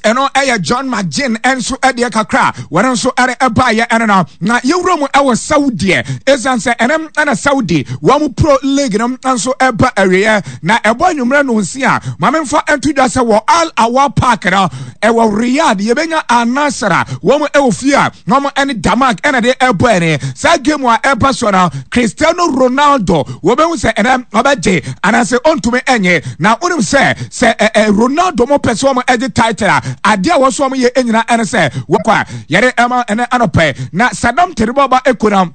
Ɛno ɛyɛ John McGinn nso ɛdeɛ kakra wɔn nso ɛde ɛbaayɛ ɛno no. Na yɛwura mu ɛwɔ Saudi ɛ, ɛsiane sɛ ɛnɛ ɛna Saudi wɔn Pro League no nso ɛba awieɛ na ɛbɔ anwummerɛ no nsi a, maame nfa nto dwa sɛ wɔ Al Awar Park no ɛwɔ Riyadh, yɛbɛnya Al Nassr a wɔn ɛwɔ fie a na wɔn ɛne Damac ɛna de ɛbɔ. Ɛne saa game a ɛba so no, Cristiano Ronaldo wɔbɛhu sɛ ɛnɛ ɔbɛgye anaasɛ ɔntumi ɛnyɛ. Na wonim sɛ ɛ Ronaldo mo pɛ sɛ wɔn ɛgye title a, adeɛ a wɔso wɔn yɛ nyinaa ɛne sɛ wɔkɔ a yɛde ɛma ɛnɛ anɔpɛ. Na Sadam Teribɔba ekona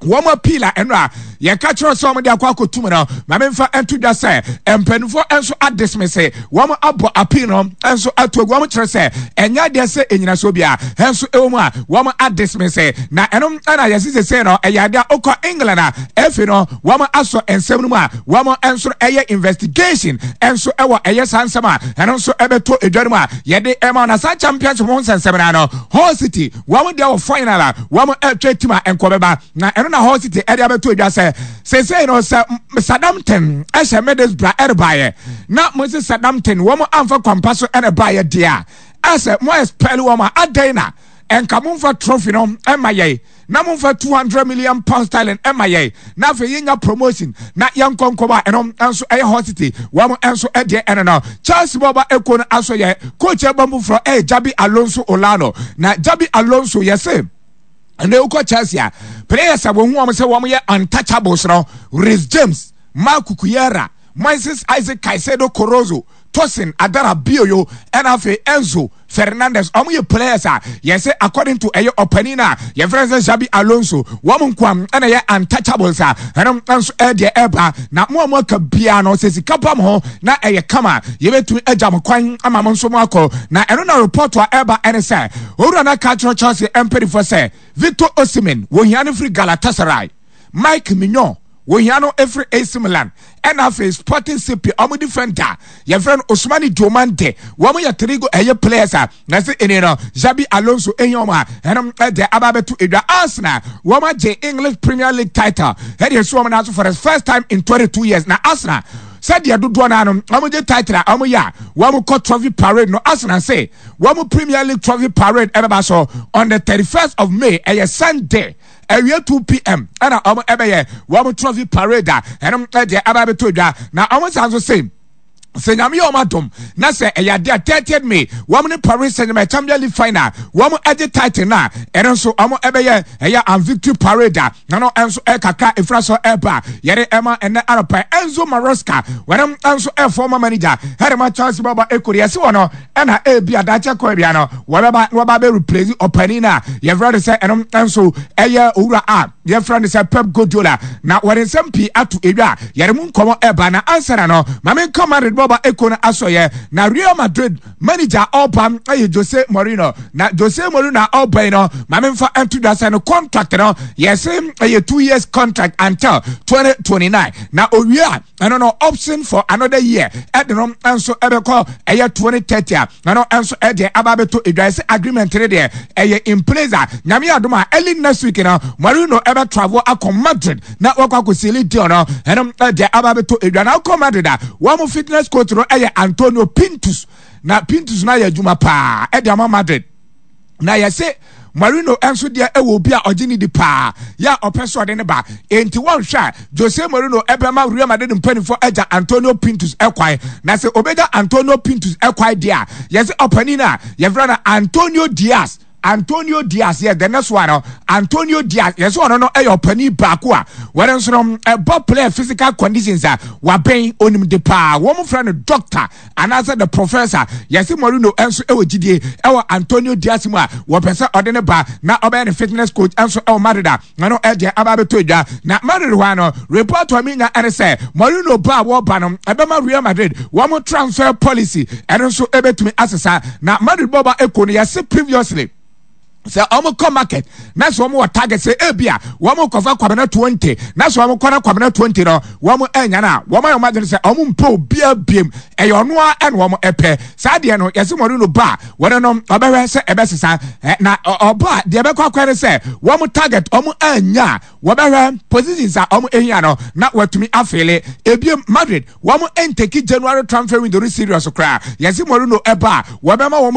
wɔn appeal a ɛno a yɛka kyerɛ sɛ wɔn de akɔ akɔtum no, maame nfa nto dwa sɛ mpanimfoɔ nso adismiss, wɔn abɔ appeal no nso ato agu. Wɔn kyerɛ sɛ ɛnyɛ adeɛ sɛ enyinasoɔ bia nso ɛwɔ mu a wɔn adismiss. Na ɛno ɛna yɛsi sese no ɛyɛ adeɛ a okɔ England a efi no wɔn asɔ nsɛm no mu a wɔn nso ɛyɛ investigation nso ɛwɔ ɛyɛ saa nsɛm a ɛno nso ɛbɛtɔ edwa no mu a yɛde ɛma. Na saa championship ho nsɛnsɛm na no, Hull City wɔn deɛ wɔ final a wɔn ɛtwa team a nkɔ bɛba. Na ɛno na Hull City ɛde abɛto edwa sɛ sese no sɛ Southampton ɛhyɛ Middlesbrough ɛrebaayɛ na mo sɛ Southampton wɔn amfa kwampa so ɛna baayɛ deɛ a ɛsɛ mo expel wɔn a, adan na ɛnka mo nfa trophy no ɛma yɛ na momfa £200 million ɛma yɛn na afei yɛnya promotion na yɛnkɔ nkɔmɔ a ɛno nso ɛyɛ Hull City wɔn nso ɛdeɛ ɛno no. Chelsea bɔba eko no aso yɛ coach ɛbɔ foforɔ ɛyɛ Xabi Alonso Olano. Na Xabi Alonso yɛsɛ ɛnna ekɔ Chelsea a, players a wɔn ho wɔn sɛ wɔn yɛ untouchables no, Reece James, Marc Cucurella, Moises Isaac Caicedo Corozo, Tosin Adarabioyo, ɛna afei Enzo Fernandez. Ɔmo yɛ players a yɛsɛ according to ɛyɛ ɔpanin a yɛfrɛ sɛ Xabi Alonso, wɔn nkoam ɛna yɛ untouchables a ɛno nso ɛdeɛ ɛba. Na mo a mo aka biara no, sɛ sika ba mo ho na ɛyɛ kama, yɛbɛtumi agya mo kwan ama mo nso mo akɔ. Na ɛno na report a ɛba ɛne sɛ owura no aka akyerɛ Chelsea mpanyinfoɔ sɛ Victor Osimhen, wɔhia no firi Galatasaray, Mike Maignan, wɔhia no efiri AC Milan, ɛna afei Sporting CP ɔmo defender yɛfrɛ no Ousmane Diomande. Wɔn yɛ three go ɛyɛ players a na sɛ ɛni no Xabi Alonso ehia wɔn a ɛnom ɛde aba abɛto edwa. Arsenal wɔn agye English Premier League title ɛde esi wɔn nan so for the first time in 22 years. Na Arsenal, sɛdeɛ dodoɔ naa no wɔn gye title a wɔn yɛ a wɔn kɔ trophy parade no, Arsenal sɛ wɔn Premier League trophy parade ɛbɛba so on the 31st of May, ɛyɛ Sunday awie 2 p.m. ɛna wɔn ɛbɛyɛ wɔn trophy parade a ɛnom ɛdeɛ aba abɛto dwa. Na wɔn san so sɛ Nyame yɛ wɔn adom na sɛ ɛyɛ adeɛ a 30th May wɔn ne Paris Saint-Germain Champions League final wɔn ɛgye title na ɛno nso wɔn ɛbɛyɛ ɛyɛ an victory parade a na no nso ɛkakra efura so ɛba yɛde ɛma ɛnɛ anɔpɛ. Enzo Maresca, wɔn nso ɛ former manager ɛde ma Chelsea bɔbɔ ekori ɛsi wɔ no, ɛna ebi adakyɛ kɔ ebia no wɔbɛba na wɔba bɛ replace ɔpanin a yɛfrɛ no sɛ ɛno nso ɛyɛ owura a yɛfrɛ no sɛ Pep Guardiola. Na wɔde nsɛm pii ato edwa a yɛde mu nkɔmɔ ɛba. Na ansa na no, maame nka Madrid bɔba eko no asɔyɛ. Na Real Madrid manager ɔba ɛyɛ Jose Mourinho. Na Jose Mourinho a ɔba yi no, maame nfa nto dwa sɛ no contract no yɛsɛ ɛyɛ 2 years contract until 2029. Na owie a, ɛno no option for another year ɛde no nso ɛbɛkɔ ɛyɛ 2030 a ɛno nso ɛdeɛ aba abɛto edwa. Ɛsɛ agreement no deɛ ɛyɛ in place a Nyame adom a, early next week no Mourinho ɛbɛ travel akɔ Madrid na wɔkɔ akɔseal deal no. Ɛno ɛdeɛ aba abɛto edwa. Na akɔ Madrid a, wɔn fitness coach no ɛyɛ Antonio Pintus. Na Pintus no ayɛ adwuma paa ɛde ama Madrid. Na yɛsɛ Mourinho nso deɛ ɛwɔ obi a ɔgye ne di paa yɛ a ɔpɛ so ɔde ne ba, enti wɔnhwɛ a Jose Mourinho ɛbɛma Real Madrid mpanimfoɔ agya Antonio Pintus ɛkwan. Na sɛ obɛgya Antonio Pintus ɛkwan deɛ a, yɛsɛ ɔpanin a yɛfrɛ no Antonio Diaz, Antonio Diaz yɛ the next one no. Antonio Diaz, yɛsɛ ɔno no ɛyɛ ɔpanin baako a wɔn nso no ɛbɔ player physical conditions a wabɛn onim de paa. Wɔn frɛ no doctor anaasɛ the professor. Yɛsɛ Mourinho nso ɛwɔ gyidie ɛwɔ Antonio Diaz mu a wɔpɛ sɛ ɔde ne ba na ɔbɛyɛ ne fitness coach nso ɛwɔ Madrid a ɛno ɛdeɛ aba abɛtɔ dwa. Na Madrid hɔ ano report a mi nya ɛne sɛ Mourinho ba a wɔba no ɛbɛma Real Madrid wɔn transfer policy ɛno nso ɛbɛtumi asesa. Na Madrid bɔba eko no, yɛsɛ previously sɛ ɔmo kɔ market na sɛ ɔmo wɔ target sɛ ebi a wɔn kɔfa Kwabena 20, na sɛ ɔmo kɔ na Kwabena 20 no wɔn ɛnya no a, wɔn ayɛ wɔn adwene sɛ ɔmo mpɛ obiara biem, ɛyɛ ɔno a ɛna wɔn ɛpɛ. Saa deɛ no, yɛsɛ Mourinho ba a wɔn no ɔbɛhwɛ sɛ ɛbɛsesa ɛ. Na ɔba deɛ ɛbɛkɔ akɔ ne sɛ wɔn target ɔmo anya a, wɔbɛhwɛ positions a ɔmo ehia no na wɔatumi afill ebiem. Madrid wɔn ntake January transfer window no serious koraa. Yɛsɛ Mourinho ɛba a, wɔbɛma wɔn